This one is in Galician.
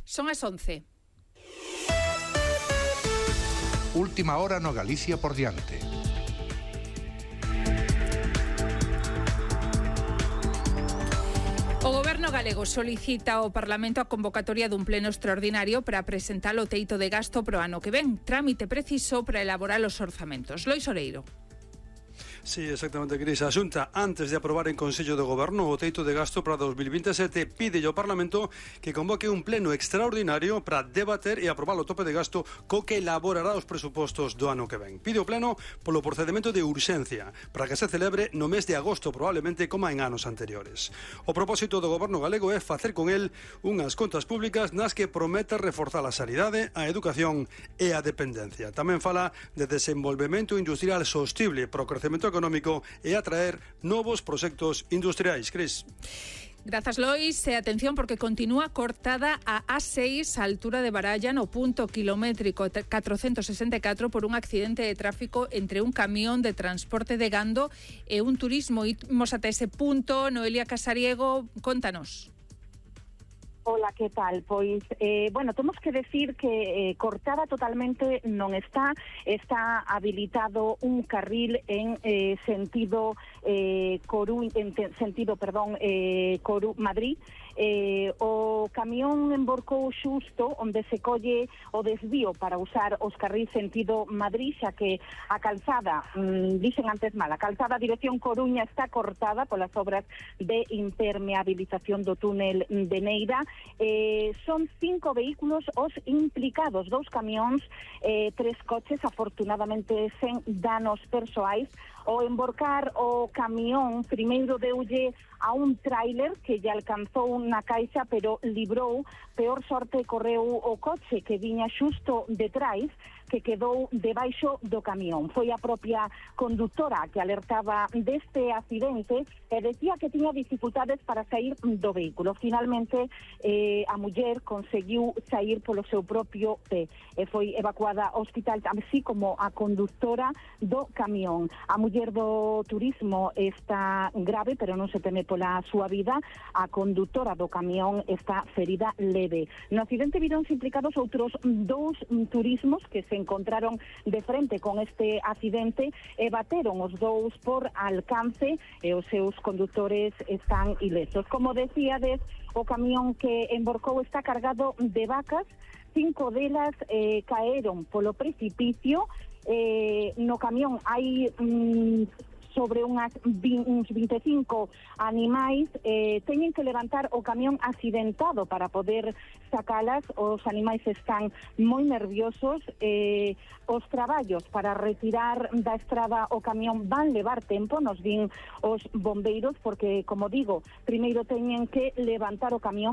Son as 11. Última hora no Galicia por diante. O Goberno galego solicita ao Parlamento a convocatoria dun pleno extraordinario para presentar o teito de gasto pro ano que ven, trámite preciso para elaborar os orzamentos. Lois Oreiro. Sí, exactamente, Cris. A Xunta, antes de aprobar en Consello de Goberno o teito de gasto para 2027, pide ao Parlamento que convoque un pleno extraordinario para debater e aprobar o tope de gasto co que elaborará os presupostos do ano que ven. Pide o pleno polo procedimento de urxencia para que se celebre no mes de agosto, probablemente como en anos anteriores. O propósito do Goberno galego é facer con el unhas contas públicas nas que promete reforzar a sanidade, a educación e a dependencia. Tamén fala de desenvolvemento industrial sostible para o crecemento económico e atraer novos proxectos industriais. Cris. Grazas, Lois. E atención porque continúa cortada a A6 a altura de Baralla no punto kilométrico 464 por un accidente de tráfico entre un camión de transporte de gando e un turismo. Imos ata ese punto. Noelia Casariego, contanos. Hola, ¿qué tal? Pois, temos que decir que cortada totalmente non está habilitado un carril en sentido Madrid. O camión emborcou xusto onde se colle o desvío para usar os carril sentido Madrid, xa que a calzada, dixen antes mal, a calzada dirección Coruña está cortada polas obras de impermeabilización do túnel de Neira. Son 5 vehículos os implicados, 2 camións, 3 coches, afortunadamente sen danos persoais. O emborcar o camión primeiro deulle a un tráiler que lle alcanzou na caixa, pero librou. Peor sorte correu o coche que viña xusto detrás, que quedou debaixo do camión. Foi a propia conductora que alertaba deste accidente e decía que tiña dificultades para sair do vehículo. Finalmente, a muller conseguiu sair polo seu propio pé e foi evacuada ao hospital, así como a conductora do camión. A muller do turismo está grave, pero non se teme pola súa vida. A condutora do camión está ferida leve. No accidente vironse implicados outros 2 turismos que se encontraron de frente con este accidente e bateron os 2 por alcance e os seus condutores están ilesos. Como decíades, o camión que emborcou está cargado de vacas, 5 delas caeron polo precipicio. No camión hai sobre uns 25 animais, teñen que levantar o camión accidentado para poder sacalas. Os animais están moi nerviosos. Os traballos para retirar da estrada o camión van levar tempo, nos din os bombeiros, porque, como digo, primeiro teñen que levantar o camión